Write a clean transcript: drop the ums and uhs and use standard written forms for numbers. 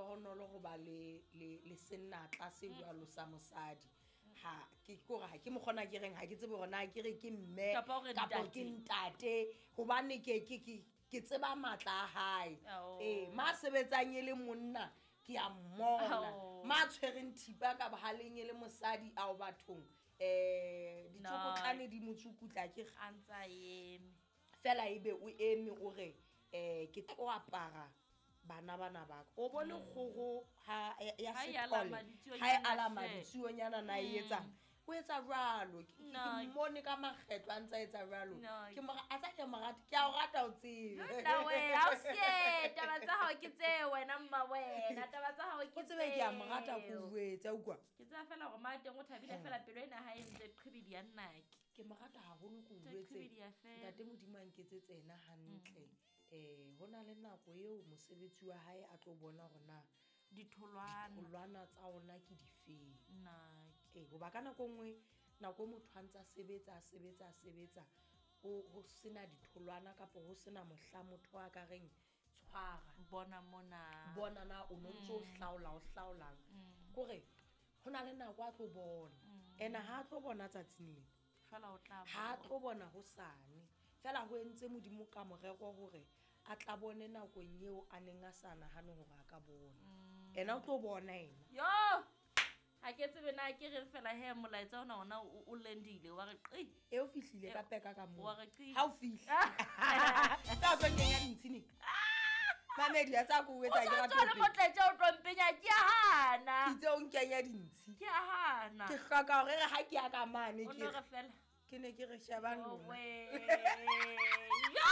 lehlohonolo go ba le senatla se jwalo sa mosadi. Ha ke kore ha ke mokgona ke reng, ha ke tsebe hore na ke re ke mme Kapa o re kapo ntate. Ke ntate, hobane ke tseba matla a hae. Oh. Ee, ma sebetsang e le monna ke a mmona. Oh. Ma tshwereng thipa ka bohaleng e le mosadi, ao bathong, ditsokotlane di motsukutla ke A ntse a eme. Fela ebe o eme o re, ke tlo apara bana bana ba ka. O bone kgoho ha ya Ha e sethole, alama ditsuonyana ha e alama hle. ditsuonyana na e etsang? O etsa jwalo. Ke No. mmone ka makgetlo a ntse a etsa jwalo. No. Ke mo a tsa ke mo rata, ke a o rata o tsebe. Nna we, ha o sie, taba tsa hao ke tse wena mma wena, taba tsa hao ke O tsebe ke a mo rata, ko tseo. jwetse, utlwa. Ke tseba fela hore ma teng o thabile fela, pelo ena ha e ntse qhibidi ya nnake. Ke mo rata haholo, ko Tse jwetse. qhibidi ya fela. Ntate Modimo a nketsetse ena hantle. Ho na le nako eo mosebetsi wa hae a tlo bona hore na Ditholwana. Ditholwana tsa ona ke difeng. Nnake. Ee, hoba ka nako e nngwe, nako e motho a ntse a sebetsa, a sebetsa, a sebetsa, ho sena ditholwana kapo ho sena mohla motho a ka reng tshwara. Bona mona. Bona na o no ntso o hlaola, o hlaolang. Kore ho na le nako a tlo bona. Ene ha a tlo bona tsatsing lena. Fela o tla Ha a bona. tlo bona hosane. Fela ho entse Modimo ka morero hore a tla bone nakong eo a neng a sa nahane hore a ka bona. Ena o tlo bona ena. Yo! Ha ke tsebe na ke reng fela he, molaetsa ona ona o lendile, wa re qi. E o fihlile ka peka ka moo. Wa re qi. Ha o fihla. Ka tlo kenya dintshini. Mamedi, a tsa ko etsa O ke sa rata tswa le ho motletja o tlo mpenya, ke a hana. Ke itse o nkenya dintshi. Ke a hana. Ke hloka hore re ha ke ya ka mane O ke no re fela. Ke ne ke re shebang Oh, lona. we.